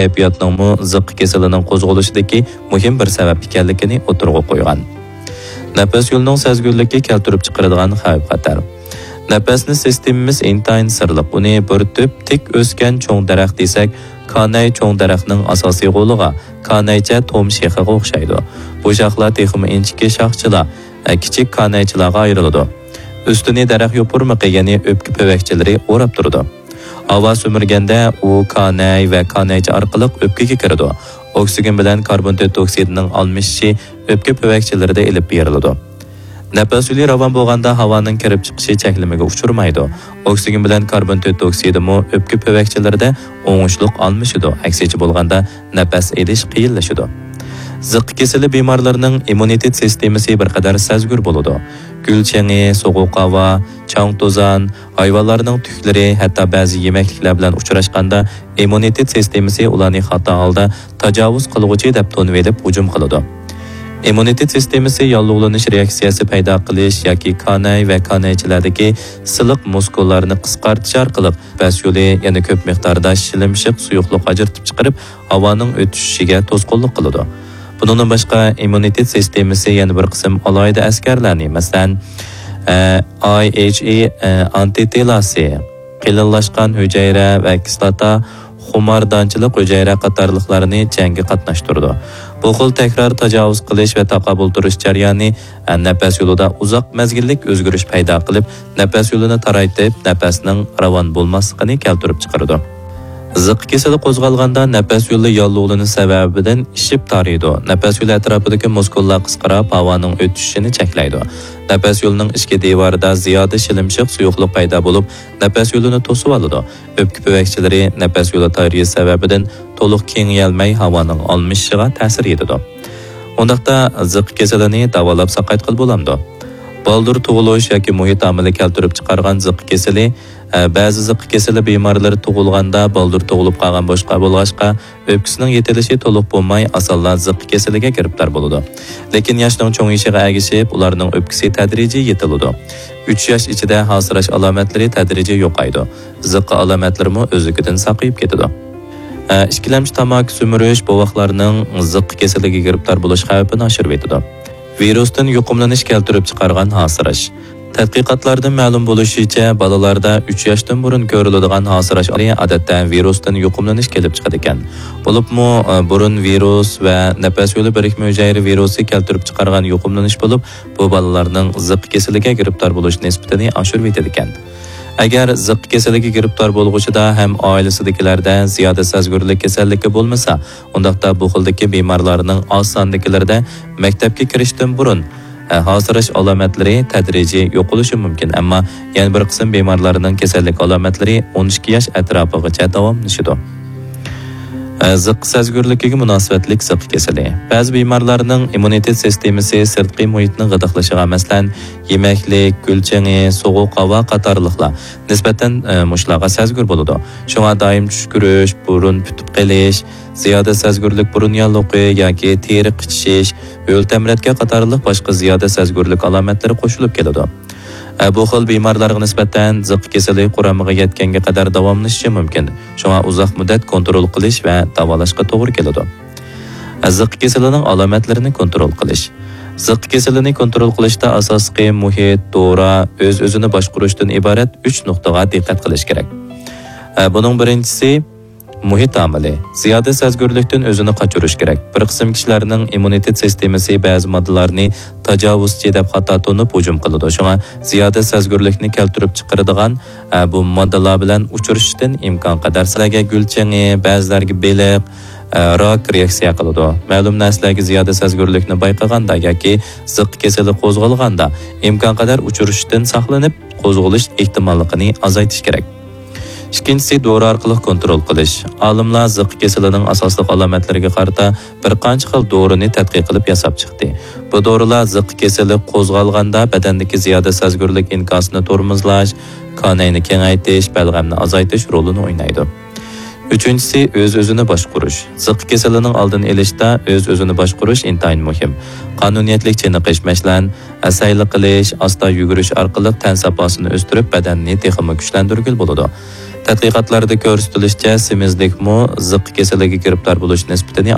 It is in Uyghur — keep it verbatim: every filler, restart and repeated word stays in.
كەيپىياتنىڭمۇ زىققا كېسىلىنىڭ قوزغىلىشىدىكى مۇھىم بىر سەۋەب ئىكەنلىكىنى ئوتتۇرىغا قويغان. نەپەس يولىنىڭ سەزگۈرلۈكى كەلتۈرۈپ چىقىرىدىغان خەۋپ-خەتەر. نەپەسنى سىستېمىمىز ئىنتايىن سىرلىق، ئۇنى بىر تۈپ تىك ئۆسكەن چوڭ دەرەخ دېسەك، كانەي چوڭ دەرەخنىڭ ئاساسىي غولىغا، كانەيچە توم شېخىغا ئوخشايدۇ. بۇ شاخلار تېخىمۇ ئىنچىكە شاخچىلار، كىچىك كانەيچىلارغا ئايرىلىدۇ. ئۈستىنى دەرەخ يوپۇرمىقى، يەنى ئۆپكە پۈۋەكچىلىرى ئوراپ تۇرىدۇ. ھاۋا سۈمۈرگەندە ئۇ كانەي ۋە كانەيچە ئارقىلىق ئۆپكىگە كىرىدۇ. ئوكسىگېن بىلەن كاربون تۆت ئوكسىدىنىڭ ئالمىشىشى ئۆپكە پۈۋەكچىلىرىدە ئېلىپ بېرىلىدۇ. نەپەس يولى راۋان بولغاندا ھاۋانىڭ كىرىپ چىقىشى چەكلىمىگە ئۇچرىمايدۇ. ئوكسىگېن بىلەن كاربون تۆت ئوكسىدىمۇ ئۆپكە پۈۋەكچىلىرىدە ئوڭۇشلۇق ئالمىشىدۇ، ئەكسىچە بولغاندا نەپەس ئېلىش قىيىنلىشىدۇ. زىققا كېسىلى بىمارلىرىنىڭ ئىممۇنىتېت سىستېمىسى بىر قەدەر سەزگۈر بولىدۇ. گۈل چېڭى، سوغۇق ھاۋا، چاڭ-توزان، ھايۋانلارنىڭ تۈكلىرى، ھەتتا بەزى يېمەكلىكلەر بىلەن ئۇچراشقاندا ئىممۇنىتېت سىستېمىسى ئۇلارنى خاتا ھالدا تاجاۋۇز قىلغۇچى دەپ تونۇۋېلىپ ھۇجۇم قىلىدۇ. ئىممۇنىتېت سىستېمىسى ياللۇغلىنىش رېئاكسىيەسى پەيدا قىلىش ياكى كانەي ۋە كانەيچىلەردىكى سىلىق مۇسكۇللارنى قىسقارتىش ئارقىلىق نەپەس يولى يەنە كۆپ مىقداردا شىلىمشىق سۇيۇقلۇق ئاجرىتىپ چىقىرىپ، ھاۋانىڭ ئۆتۈشۈشىگە توسقۇنلۇق قىلىدۇ. بۇنىڭدىن باشقا، ئىممۇنىتېت سىستېمىسى يەنە بىر قىسىم ئالاھىدە ئەسكەرلەرنى، مەسىلەن، ئە، ئاي ئېيچ ئى، ئە، ئانتىتېلاسى، قېلىنلاشقان ھۈجەيرە ۋە كىسلاتا خۇماردانچىلىق ھۈجەيرە قاتارلىقلارنى جەڭگە قاتناشتۇرىدۇ. بۇ خىل تەكرار تاجاۋۇز قىلىش ۋە تاقابىل تۇرۇش جەريانى، ئە، نەپەس يولىدا ئۇزاق مەزگىللىك ئۆزگىرىش پەيدا قىلىپ، نەپەس يولىنى تارايتىپ، نەپەسنىڭ راۋان بولماسلىقىنى كەلتۈرۈپ چىقىرىدۇ. زىققا كېسىلى قوزغالغاندا نەپەس يولى ياللۇغلىنىش سەۋەبىدىن ئىششىپ تارىيدۇ. نەپەس يولى ئەتراپىدىكى مۇسكۇللار قىسقىراپ، ھاۋانىڭ ئۆتۈشۈشىنى چەكلەيدۇ. نەپەس يولىنىڭ ئىچكى دىۋارىدا زىيادە شىلىمشىق سۇيۇقلۇق پەيدا بولۇپ، نەپەس يولىنى توسۇۋالىدۇ. ئۆپكە پۈۋەكچىلىرى نەپەس يولى تارىيىش سەۋەبىدىن تولۇق كېڭىيەلمەي، ھاۋانىڭ ئالمىشىشىغا تەسىر يېتىدۇ. ئۇنداقتا زىققا كېسىلىنى داۋالاپ ساقايتقىلى بولامدۇ؟ بالدۇر تۇغۇلۇش ياكى مۇھىت ئامىلى كەلتۈرۈپ چىقارغان زىققا كېسىلى. ئە، بەزى زىققا كېسىلى بىمارلىرى تۇغۇلغاندا بالدۇر تۇغۇلۇپ قالغان بولغاچقا، ئۆپكىسىنىڭ يېتىلىشى تولۇق بولماي، ئاسانلا زىققا كېسىلىگە گىرىپتار بولىدۇ. لېكىن ياشنىڭ چوڭىيىشىغا ئەگىشىپ، ئۇلارنىڭ ئۆپكىسى تەدرىجىي يېتىلىدۇ. ئۈچ ياش ئىچىدە ھاسىراش ئالامەتلىرى تەدرىجىي يوقايدۇ. زىققا ئالامەتلىرىمۇ ئۆزلۈكىدىن ساقىيىپ كېتىدۇ. ئە، ئىككىلەمچى تاماكا سۈمۈرۈش بوۋاقلارنىڭ زىققا كېسىلىگە گىرىپتار بولۇش خەۋپىنى ئاشۇرۇۋېتىدۇ. ۋىرۇستىن يۇقۇملىنىش كەلتۈرۈپ چىقارغان ھاسىراش. تەتقىقاتلاردىن مەلۇم بولۇشىچە، بالىلاردا ئۈچ ياشتىن بۇرۇن كۆرۈلىدىغان ھاسىراش ئادەتتە ۋىرۇستىن يۇقۇملىنىش كېلىپ چىقىدىكەن. بولۇپمۇ، ئە، بۇرۇن ۋىرۇس ۋە نەپەس يولى بىرىكمە ھۈجەيرە ۋىرۇسى كەلتۈرۈپ چىقارغان يۇقۇملىنىش بولۇپ، بۇ بالىلارنىڭ زىققا كېسىلىگە گىرىپتار بولۇش نىسبىتىنى ئاشۇرۇۋېتىدىكەن. ئەگەر زىققا كېسىلىگە گىرىپتار بولغۇچىدا ھەم ئائىلىسىدىكىلەردە زىيادە سەزگۈرلۈك كېسەللىكى بولمىسا، ئۇنداقتا بۇ خىلدىكى بىمارلارنىڭ ئاز ساندىكىلىرىدە مەكتەپكە كىرىشتىن بۇرۇن، ئە، ھاسىراش ئالامەتلىرى تەدرىجىي يوقىلىشى مۇمكىن، ئەمما يەنە بىر قىسىم بىمارلارنىڭ كېسەللىك ئالامەتلىرى ئون ئىككى ياش ئەتراپىغىچە داۋاملىشىدۇ. ئە، زىققا سەزگۈرلۈكىگە مۇناسىۋەتلىك زىققا كېسىلى. بەزى بىمارلارنىڭ ئىممۇنىتېت سىستېمىسى سىرتقى مۇھىتنىڭ غىدىقلىشىغا، مەسىلەن، يېمەكلىك، گۈل چېڭى، سوغۇق ھاۋا قاتارلىقلار نىسبەتەن، ئە، مۇشۇلارغا سەزگۈر بولىدۇ. شۇڭا دائىم چۈشكۈرۈش، بۇرۇن پۈتۈپ قېلىش، زىيادە سەزگۈرلۈك بۇرۇن ياللۇغى ياكى تېرە قىچىشىش، ھۆل تەمرەتكە قاتارلىق باشقا زىيادە سەزگۈرلۈك ئالامەتلىرى قوشۇلۇپ كېلىدۇ. ئە، بۇ خىل بىمارلارغا نىسبەتەن زىققا كېسىلى قۇرامىغا يەتكەنگە قەدەر داۋاملىشىشى مۇمكىن. شۇڭا ئۇزاق مۇددەت كونترول قىلىش ۋە داۋالاشقا توغرا كېلىدۇ. ئە، زىققا كېسىلىنىڭ ئالامەتلىرىنى كونترول قىلىش. زىققا كېسىلىنى كونترول قىلىشتا ئاساسلىقى مۇھىت، دورا، ئۆز-ئۆزىنى باشقۇرۇشتىن ئىبارەت ئۈچ نۇقتىغا دىققەت قىلىش كېرەك. ئە، بۇنىڭ بىرىنچىسى، مۇھىت ئامىلى. زىيادە سەزگۈرلۈكتىن ئۆزىنى قاچۇرۇش كېرەك. بىر قىسىم كىشىلەرنىڭ ئىممۇنىتېت سىستېمىسى بەزى ماددىلارنى تاجاۋۇزچى دەپ خاتا تونۇپ ھۇجۇم قىلىدۇ. شۇڭا زىيادە سەزگۈرلۈكنى كەلتۈرۈپ چىقىرىدىغان، ئە، بۇ ماددىلار بىلەن ئۇچرىشىشتىن ئىمكان قەدەر، سىلەرگە گۈل چېڭى، بەزىلەرگە بېلىق، ئە، راك رېئاكسىيە قىلىدۇ. مەلۇم نەرسىلەرگە زىيادە سەزگۈرلۈكنى بايقىغاندا ياكى زىققا كېسىلى قوزغالغاندا ئىمكان قەدەر ئۇچرىشىشتىن ساقلىنىپ، قوزغىلىش ئېھتىماللىقىنى ئازايتىش كېرەك. ئىككىنچىسى، دورا ئارقىلىق كونترول قىلىش. ئالىملار زىققا كېسىلىنىڭ ئاساسلىق ئالامەتلىرىگە قارىتا بىر قانچە خىل دورىنى تەتقىق قىلىپ ياساپ چىقتى. بۇ دورىلار زىققا كېسىلى قوزغالغاندا بەدەندىكى زىيادە سەزگۈرلۈك ئىنكاسىنى تورمۇزلاش، كانەينى كېڭەيتىش، بەلغەمنى ئازايتىش رولىنى ئوينايدۇ. ئۈچىنچىسى، ئۆز-ئۆزىنى باشقۇرۇش. زىققا كېسىلىنىڭ ئالدىنى ئېلىشتا ئۆز-ئۆزىنى باشقۇرۇش ئىنتايىن مۇھىم. قانۇنىيەتلىك چېنىقىش، مەسىلەن، ئەسەيلىك قىلىش، ئاستا يۈگۈرۈش ئارقىلىق تەن ساپاسىنى ئۆستۈرۈپ، بەدەننى تېخىمۇ كۈچلەندۈرگىلى بولىدۇ. تەتقىقاتلاردا كۆرسىتىلىشىچە، سېمىزلىكمۇ زىققا كېسىلىگە گىرىپتار بولۇش نىسبىتىنى